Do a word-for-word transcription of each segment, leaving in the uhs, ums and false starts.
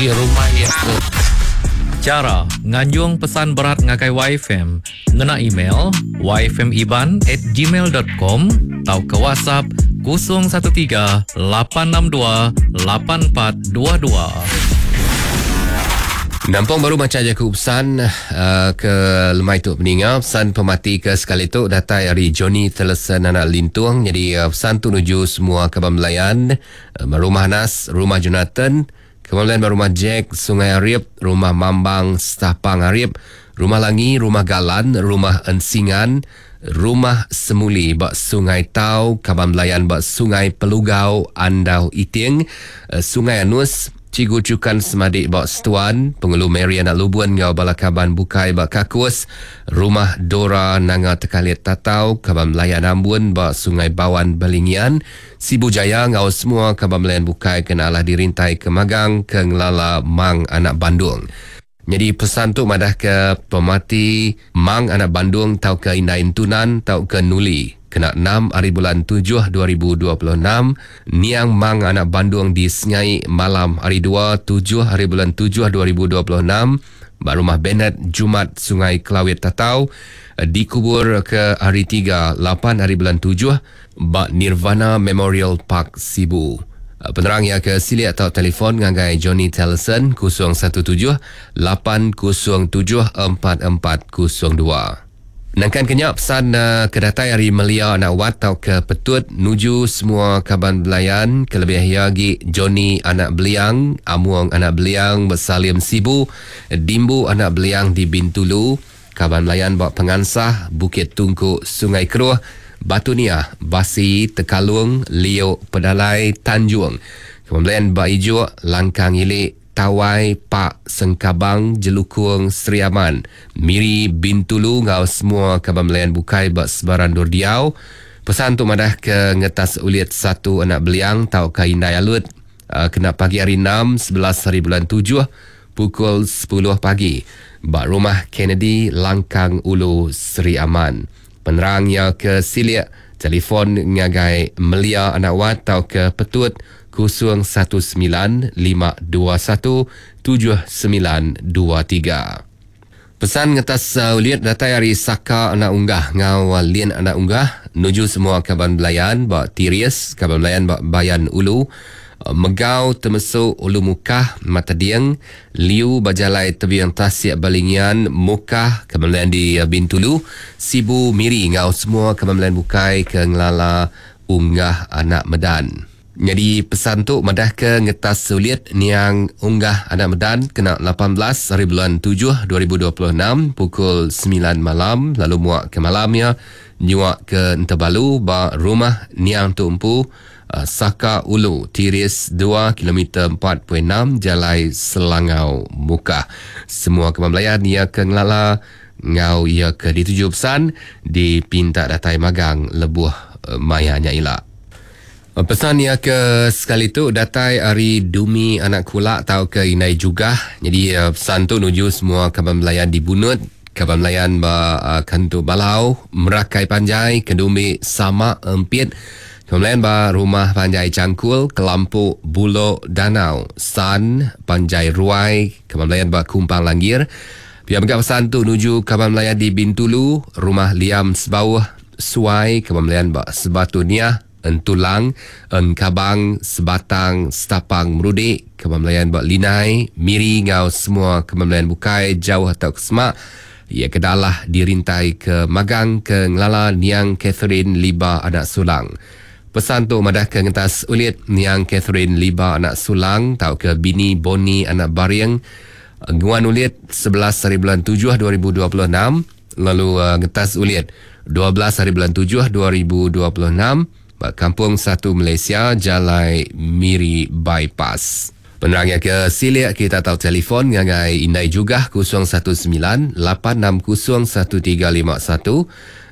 Rumah iya ke. Chara nganjung pesan berat ngagai Y F M ngena email y f m iban at gmail dot com tauka WhatsApp kosong satu tiga lapan enam dua lapan empat dua dua. Nampung baru maca jaku pesan uh, ke lemai tu peninga. Pesan pemati ke sekali tu datai ari Johnny Telesen anak Lintung. Jadi uh, pesan tu nuju semua kaban belayan, uh, rumah Nas, rumah Jonathan, kemudian rumah Jack, Sungai Arip, rumah Mambang, Stapang Arip, rumah Langi, rumah Galan, rumah Ensingan, rumah Semuli bak Sungai Tau, kaban belayan bak Sungai Pelugau, Andau Iting, Sungai Anus, Cigu Cukan Semadik bak Setuan, Pengulu Mary anak Lubun ngau bala kaban bukai bak Kakus, rumah Dora Nanga Tekalit Tatau, kaban belayan Ambun bak Sungai Bawan Balingian, Sibu Jaya ngau semua kaban belayan bukai kena alah dirintai ke Magang ke Ngelala Mang Anak Bandung. Jadi pesan tu madah ke pemati Mang Anak Bandung tau ke Indai Entunan tau ke Nuli. Kena enam hari bulan tujuh dua ribu dua puluh enam, niang Mang Anak Bandung di Sengai malam hari dua tujuh hari bulan tujuh dua ribu dua puluh enam, ba rumah Bennett Jumat Sungai Kelawit Tatau, dikubur ke hari tiga lapan hari bulan tujuh ba Nirvana Memorial Park Sibu. Penerang yang ke silik atau telefon ngagai Johnny Telson kosong satu tujuh lapan kosong tujuh empat empat kosong dua. Nangkan kenyak pesan uh, kedatai hari Melia anak wat tau ke Petut nuju semua kaban belayan kelebih lagi Johnny anak Beliang, Amuang anak Beliang Bersalim Sibu, Dimbu anak Beliang di Bintulu, kaban belayan bak Pengansah, Bukit Tungku, Sungai Keruh, Batu Niah, Basi, Tekalung, Liok, Pedalai, Tanjung. Kemudian bak Ijuk, Langkang Ilik, Tawai, Pak, Sengkabang, Jelukung, Sri Aman, Miri, Bintulu ngau semua kaban belayan bukai bak sebaran Durdiau. Pesan tu madah ke ngetas ulit satu anak beliang tau ke Indai Alut, uh, kena pagi hari enam sebelas hari bulan tujuh pukul sepuluh pagi bak rumah Kennedy Langkang Ulu Sri Aman. Penerangnya ke silik telefon ngagai Melia anak wat tau ke Petut kosong satu sembilan lima dua satu tujuh sembilan dua tiga. Pesan ngetas uh, uliat datai hari Saka anak unggah ngau uh, Lien anak unggah nuju semua kaban belayan bak Tirius, kaban belayan bak Bayan Ulu, uh, Megau Temesu Ulu Mukah Matadieng, Liu Bajalai Tebiang Tasik Balingian Mukah, kaban belayan di uh, Bintulu, Sibu Miri ngau semua kaban belayan bukai ke Ngelala Unggah Anak Medan. Jadi pesan tu madah ke ngetas sulit niang Unggah Anak Medan kena lapan belas hari bulan tujuh dua ribu dua puluh enam pukul sembilan malam lalu muak ke malamnya nyuak ke Entebalu ba rumah niang tu empu uh, Saka Ulu Tiris dua kilometer empat perpuluhan enam Jalai Selangau Mukah. Semua kemamlayan ia ke Ngelala ngau ia ke dituju pesan di Pintak Datai Magang lebuh uh, mayanya ila. Pesan ia ke sekali tu datai hari Dumi anak kulak tau ke Inai Jugah. Jadi pesan tu nuju semua kaban belayan di Bunut, kaban belayan ba uh, Kantu Balau, Merakai Panjai, Kedumbi Sama Empit, kaban belayan ba Rumah Panjai Cangkul, Kelampu Bulok Danau, San Panjai Ruai, kaban belayan ba Kumpang Langgir. Pihak mega pesan tu nuju kaban belayan di Bintulu, Rumah Liam Sebauh, Suai, kaban belayan ba Sebatu Niah, Entulang, Engkabang, Sebatang, Setapang, Merudik, kaban belayan bak Linai, Miri ngau semua kaban belayan bukai jauh atau kesemak. Ia kedalah dirintai ke Magang ke Ngelala Niang Catherine Liba anak Sulang. Pesan tu madah ke ngetas ulit Niang Catherine Liba anak Sulang tau ke Bini Boni anak Bariang nguan ulit sebelas hari bulan tujuh dua ribu dua puluh enam lalu uh, ngetas ulit dua belas hari bulan tujuh dua ribu dua puluh enam Kampung Satu Malaysia, Jalai Miri Bypass. Penerangnya ke silik kita tahu telefon ngagai Indai Jugah kosong satu sembilan lapan enam kosong satu tiga lima satu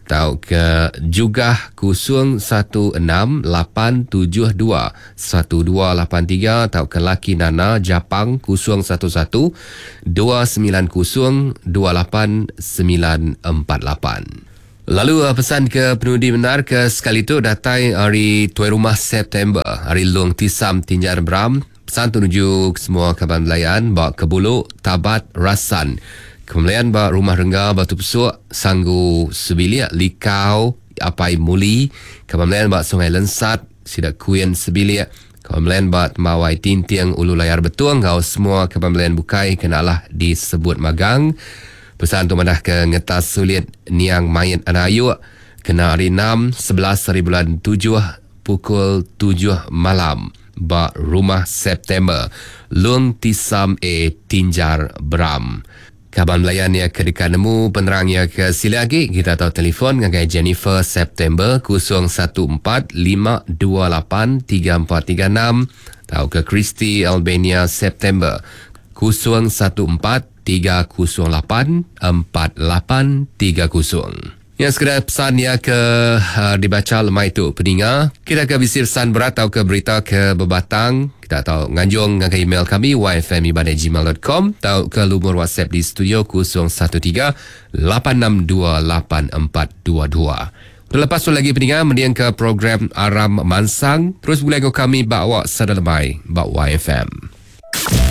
atau ke Jugah kosong satu enam lapan tujuh dua satu dua lapan tiga atau ke Laki Nana Japang kosong satu satu dua sembilan kosong dua lapan sembilan empat lapan. Lalu pesan ke penudi benar ke sekali tu datai hari Tuai Rumah September, hari Long Tisam Tinjar Bram, Pesan tu nuju semua kaban belayan ba Kebulu, Tabat, Rasan. Kemuliaan ba Rumah Rengga Batu Pesuk, Sanggu Sebilik, Likau, Apai Muli. Kemuliaan ba Sungai Lensat, Sida Kuin Sebilik. Kemuliaan ba Temawai Tinting Ulu Layar Betung ngau semua kemuliaan bukai kenalah disebut magang. Pesan tu madah ke ngetas sulit niang mayat anak ayuk kena hari enam sebelas hari bulan tujuh pukul tujuh malam ba Rumah September Lung Tisam A Tinjar Beram. Kaban belayan ya ke dekat nemu penerang ya ke sila lagi kita tahu telefon ngagai Jennifer September kosong satu empat lima dua lapan tiga empat tiga enam atau ke Christy Albania September kosong satu empat tiga kosong lapan empat lapan tiga kosong. Ya, sekadar pesan ya ke uh, dibaca lemai tu peninga. Kita ke bisi pesan berat atau ke berita ke berbatang, kita tahu nganjung ngagai email kami y f m iban at gmail dot com atau ke lumur WhatsApp di studio kosong satu tiga lapan enam dua lapan empat dua dua. Terlepas tu lagi peninga mendiang ke program Aram Mansang, terus boleh ke kami bawa sada lemai bak Y F M.